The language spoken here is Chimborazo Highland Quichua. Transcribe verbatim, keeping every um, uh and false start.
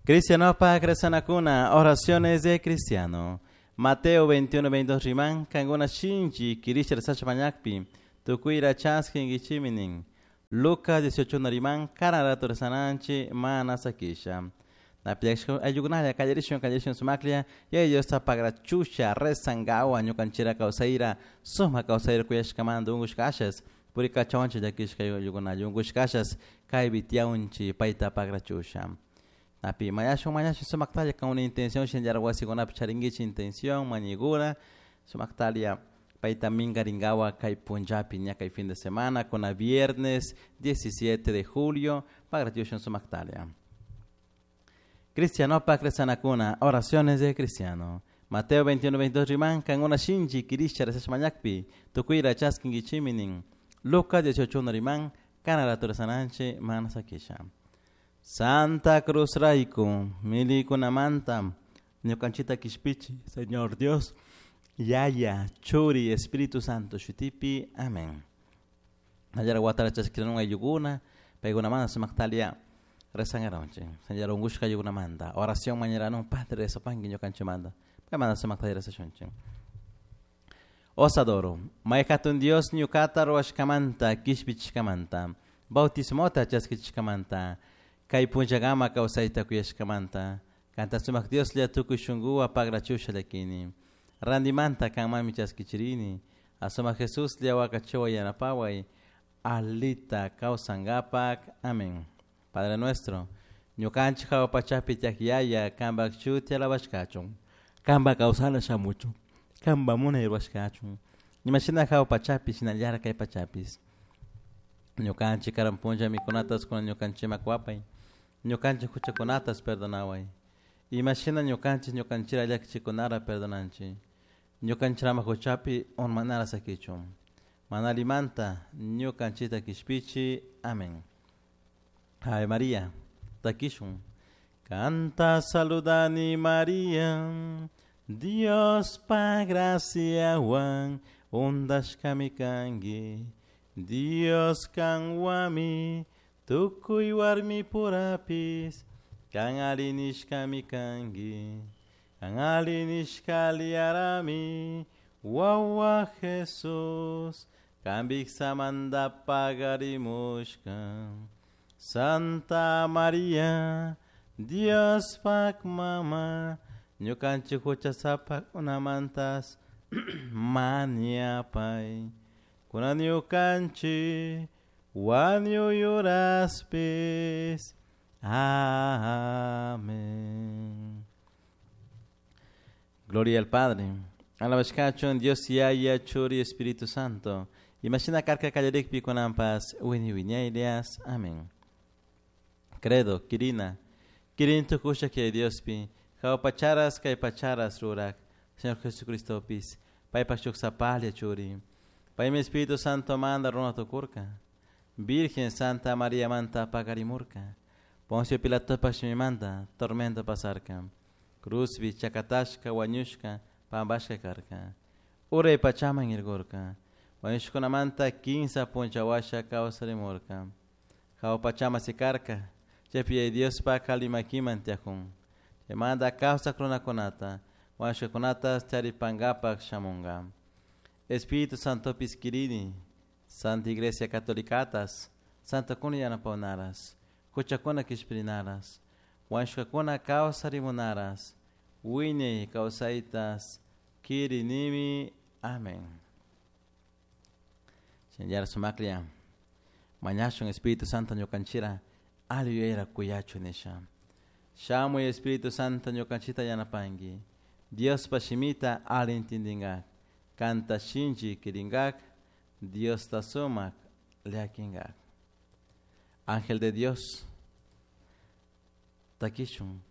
Cristianopa rezanakuna, oraciones de cristiano. Mateo veintiuno, veintidós riman, kankuna shinchi kirisha rezasha mañakpi, tukuyra chaskinkichimi nin. Lucas dieciocho uno riman, karan rato rezananchi mana sakisha. Napiakshka ayllukunalla kallarishun kallarishun sumaklla, Yaya Diosta pagrachusha rezangawa ñukanchira kawsayra, suma kawsayra kuyashkamanta unkushkashas, purikachawanchi llakishka ayllukunalla unkushkashas, kaypi tiyaunchi payta pagrachusha. Napi mañashun mañashun sumaktalla kan una intención shinallara wasikunapi charinkichik intención mañikuna, sumaktalla payta minkarinkawa kay punllapi ña kay fin de semana kuna viernes diecisiete de julio pagrachushun sumaktalla. Cristianopak rezanakuna, oraciones de cristiano. Mateo veintiuno, veintidós riman, kankuna shinchi kirisha rezasha mañakpi, tukuyra chaskinkichimi nin. Lucas dieciocho uno riman, karan rato rezananchi mana sakisha. Santa Cruz rayku, milikunamanta, ñukanchita kishpichi, Señor Dios, Yaya, Churi, Espíritu Santo, shutipi, amén. Nallara watara chaskiranun ayllukuna, paykunamanta sumaktalia rezangaronchik. Señor unkushka ayllunamanta, oración mañaranun, Padre rezapanki ñukanchimanta, paymanta sumaktalia rezashunchik. Osadoro, may hatun Dios ñukata ruwashkamanta, kishpichishkamanta, bautismota chaskichishkamanta, kay punllakama kawsayta kuyashkamanta, kanta sumak Dioslla tukuy shunkuwa pagrachusha llakini. Randimanta kanmanmi chaskichirini, asumak Jesuslla wakachiway yanapaway, alita kawsankapak. Amén. Padre nuestro, ñukanchik hawa pachapi tiyak Yaya, kanpak shuti alabashkachun, kanpak kawsana shamuchun, kanpak munay ruwashkachun, imashina hawa pachapi shinallara kay pachapis. Ñukanchik karan punlla mikunatas kuna ñukanchikman wapay, ñukanchik huchakunatas perdonaway, imashina ñukanchik ñukanchira llakichikunara perdonanchik, ñukanchirama huchapi urmanara sakichun, mana allimanta ñukanchikta kishpichi. Amén. Ave María, takishun. Canta saludani María, Dios pa graciawan, undashkami kanki, Dios kanwami, tukuy warmi purapis, kan alinishkami kanki, kan alinishka liarami, wawa Jesús, kan biksamanta pagarimushka. Santa María, Dios pak mama, ñukanchik huchasapak unamantas mañapay, kunan ñukanchik wañuyuraspis. Amén. Gloria al Padre, alabashkachun Dios Yaya, Churi, Espíritu Santo. Imagina karka kallarikpi kunanpas wini wiñaylias. Amén. Credo, Kirina, Kirin tukusha que Diospi, hawa pacharas kay pacharas rurak, Señor Jesucristo pis, paypak shuk sapalla churi, paymi Espíritu Santo manda runa tukurka, Virgen Santa María manta pagarimurka, Poncio Pilato manta, tormento pasarka, Cruzbi, chakatashka, wañushka, pambashka karka, Uray pachaman irgurka, wañushkunamanta kinsa punchawasha kawsarimurka, Hawa pachama sikarka, chaypi Dios pa kalimakiman tiajun, chaymanta kawsak runakunata, wañushkakunata charipankapak shamunka. Espíritu Santo kirini, Santa Iglesia Catolicatas, Santa kuna yanapawnaras, huchakuna kishpirinaras, wañushkakuna kawsarimunaras, wiñay kawsaytas kirinimi. Amén. Shinallara sumaklla mañashun Espíritu Santo ñukanchira alli yuyayra kuyachu nisha. Shamuy Espíritu Santo ñukanchita yanapanki, Diospa shimita alli intindinkak, kanta shinchi kirinkak, Diosta sumak llakinkak. Ángel de Dios, takishun.